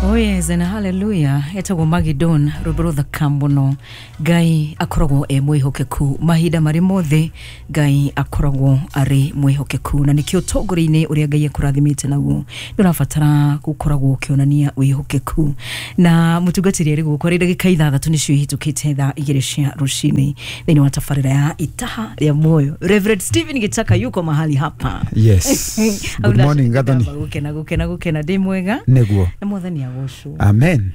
Oh yes, and hallelujah. Etagwo Magidon, rwĩmbo rũthaka mũno. Ngai akoragwo e mwĩhokeku mahinda marĩ mothe. Ngai akoragwo arĩ mwĩhokeku, na nĩkĩo ũtongoria-inĩ ũrĩa Ngai akũrathimĩte naguo nĩ ũrabatara gũkoragwo ũkĩonania wĩhokeku. Na mũtungatĩri arĩ gũkũ arĩ ndagĩka 6 nĩcio ihĩtũkĩte thaa 2 cia rũcinĩ thĩinĩ wa tabarĩra ya Itaha rĩa Muoyo. Reverend Stephen Gitaka yuko mahali hapa. Yes. Good morning, Gathoni. Gũkena gũkena gũkena, ndĩ mwega. Nĩguo. Na Mwathani agocwo. Amen.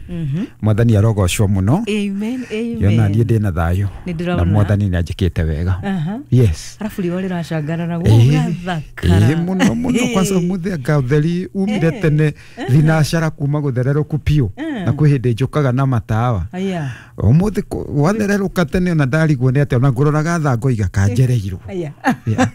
Mwathani arogocwo mũno. Amen, amen. Yona niĩ ndĩ na thayũ. Nĩ ndĩrona. Na Mwathani nĩ anjĩkĩte wega. Aha. Yes. Arabu riũa rĩracangarara Ĩĩ. gũgathakara. Ĩĩ mũno mũno, kwanza ũmũthĩ anga ũtheri umire tene thinacara kuma gũthererũku piũ, na kwĩ hĩndĩ njũkaga na matawa. Aya. Ũmũthĩ gwathererũka tene, ona ndarigwo nĩ atĩa, ona ngũroraga thaa ngoiga kanjereirwo. Aya. Yeah.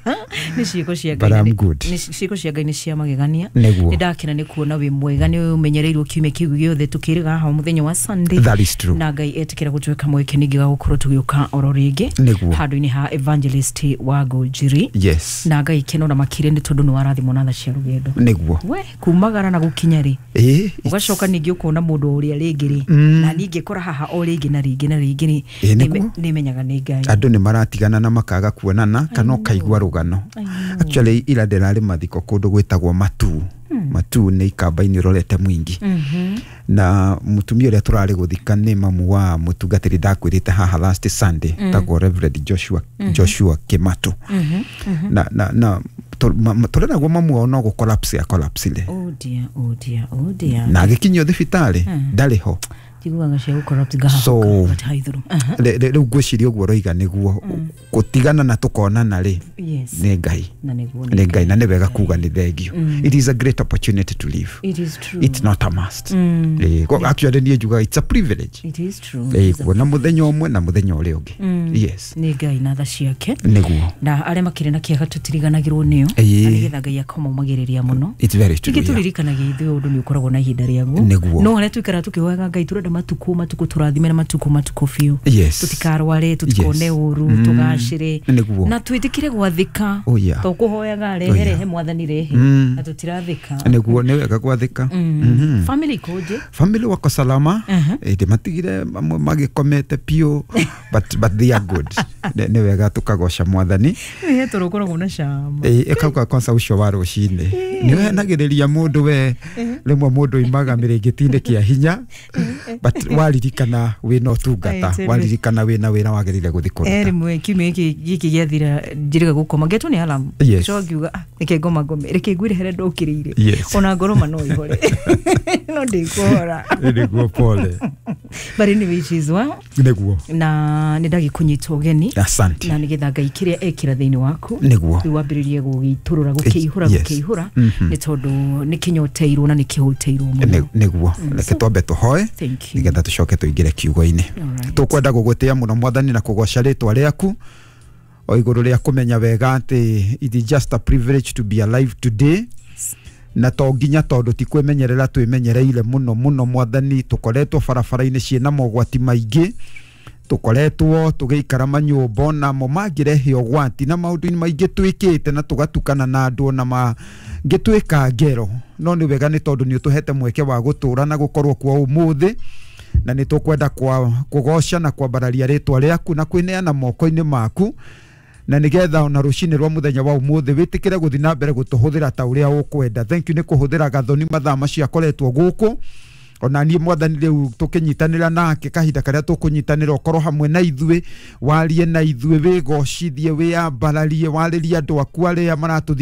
Nĩ ciĩko cia But Ngai. I'm good. Nĩ ciĩko cia Ngai nĩ cia magegania. Nĩguo. Nĩ ndakena nĩ kuona wĩ mwega, nĩ ũmenyereirwo kiumia kĩu gĩothe tũkĩrĩga haha mũthenya wa Sunday. That is true. Na Ngai etĩkĩra gũtuĩka mweke ningĩ wa gũkorwo tũgĩũka oro rĩngĩ Nĩguo. handũ-inĩ ha Evangelist wa Ngũnjiri. Yes. Na Ngai keno na makire nĩ tondũ nĩ warathimwo na tha cia rũgendo. Nĩguo. We kumagara na gũkinya rĩ, Ĩĩ. ũgacoka ningĩ ũkona mũndũ ũrĩa rĩngĩ rĩ, na ningĩ kora haha o rĩngĩ na rĩngĩ na rĩngĩ rĩ, Ĩĩ, nĩguo. nĩ menyaga nĩ Ngai. Andũ nĩ maratigana na makaga kuonana kana ũkaigua rũgano. I know. Actually, ira ndĩrarĩ mathiko kũndũ gwĩtagwo Matuu. Matuu nĩ ikamba-inĩ ũrorete Mwingi, na mũtumia ũrĩa tũrarĩ gũthika nĩ mamu wa mũtungatĩri ndakwĩrĩte haha last Sunday, tagwo Reverend Joshua Kimatu, na tũreragwo mamu wao no gũ collapse collapse Oh dear, oh dear, oh dear. Na agĩkinyio thibitarĩ ndarĩ ho. Njiguaga cia gũ corrupt ngahaha gathaithũrũ. Rĩu ngwĩciria ũguo ũroiga nĩguo gũtigana na tũkonana rĩ, nĩ Ngai. Na nĩguo. Nĩ Ngai, na nĩ wega kuga nĩ thengio. It is a great opportunity to live. It is true. It's not a must. Actually niĩ njugaga it's a privilege. It is true. Kuona mũthenya ũmwe na mũthenya ũrĩa ũngĩ. Yes. Nĩ Ngai na tha ciake. Nĩguo. Na arĩa makĩrĩ na kĩeha tũtiriganagĩrwo nĩo, na nĩgetha Ngai akomaumagĩrĩria mũno. It's very true. Ningĩ yeah. tũririkanagia ithuĩ ũndũ nĩ ũkoragwo na ihinda rĩaguo. Nĩguo. No harĩa tũikaraga tũkĩhoyaga Ngai, tũrenda matukũ matukũ tũrathime na matukũ matukũ biũ, tũtikarware, tũtikone ũru, tũgacĩre Nĩguo. na twĩtĩkĩre gwathĩka. Oh, yeah. To kũhoyaga rehe, Oh, yeah. rehe Mwathani, rehe, na tũtirathĩka. Nĩguo, nĩ wega gwathĩka. Family ikoje? Family wako salama. Ndĩmatigire mamwe magĩkomete piũ, but they are good. Nĩ wega tũkagoca Mwathani. He toro ũkoragwo na cama. Ĩkauga kwanza ũcio wa rũcinĩ nĩ ũhenagĩrĩria mũndũ, we rĩmwe mũndũ imaga mĩrĩngĩti-inĩ kĩa hinya, but waririkana wĩna ũtungata, Aye, waririkana wĩna wĩra wagĩrĩire gũthiĩ kũruta. Rĩmwe kiumia gĩkĩ gĩathira njĩrĩga gũkoma ngetwo nĩ alarm. Coka ngiuga, "Ah, reke ngoma ngome, reke ngwĩre harĩa ndũkĩrĩire." Ona ngoroma no ihore, no ndĩkũhora. Nĩguo, pole. But anyway, it is well. Nĩguo. Na nĩ ndagĩkũnyita ũgeni Asante. na nĩgetha Ngai kĩrĩa ekĩra thĩinĩ waku Nĩguo. rĩu wambĩrĩrie gũgĩitũrũra, gũkĩihũra, gũkĩihũra, nĩ tondũ nĩ kĩnyoteirwo na nĩ kĩhũtĩirwo mũno. Nĩguo, reke twambe tũhoe Thank you. nĩgetha tũcoke tũingĩre kiugo-inĩ. Alright. Tũkwenda gũgũtĩa mũno Mwathani na kũgoca rĩtwa rĩaku o igũrũ rĩa kũmenya wega atĩ it is just a privilege to be alive today, na to nginya tondũ ti kwĩmenyerera twĩmenyereire mũno mũno. Mwathani, tũkoretwo barabara-inĩ ciĩna mogwati maingĩ, tũkoretwo tũgĩikara manyũmba onamo mangĩrehe ũgwati, na maũndũ maingĩ twĩkĩte na tũgatukana na andũ ona mangĩtwĩka ngero, no nĩ wega nĩ tondũ nĩ ũtũhete mweke wa gũtũra na gũkorwo kuo ũmũthĩ, na nĩ tũkwenda kũgoca na kwambararia rĩtwa rĩaku na kwĩneana moko-inĩ maku, na nigetha ona rũcinĩ rwa mũthenya wa ũmũthĩ wĩtĩkĩre gũthiĩ na mbere gũtũhũthĩra ta ũrĩa ũkwenda. Thank you nĩ kũhũthĩra Gathoni mathaa macio akoretwo gũkũ ona niĩ. Mwathani, rĩu tũkĩnyitanĩra nake kahinda karĩa tũkũnyitanĩra, ũkorwo hamwe na ithuĩ, warie na ithuĩ, wĩgocithie, wĩyambararie, warĩrie andũ aku arĩa maratũthikĩrĩria.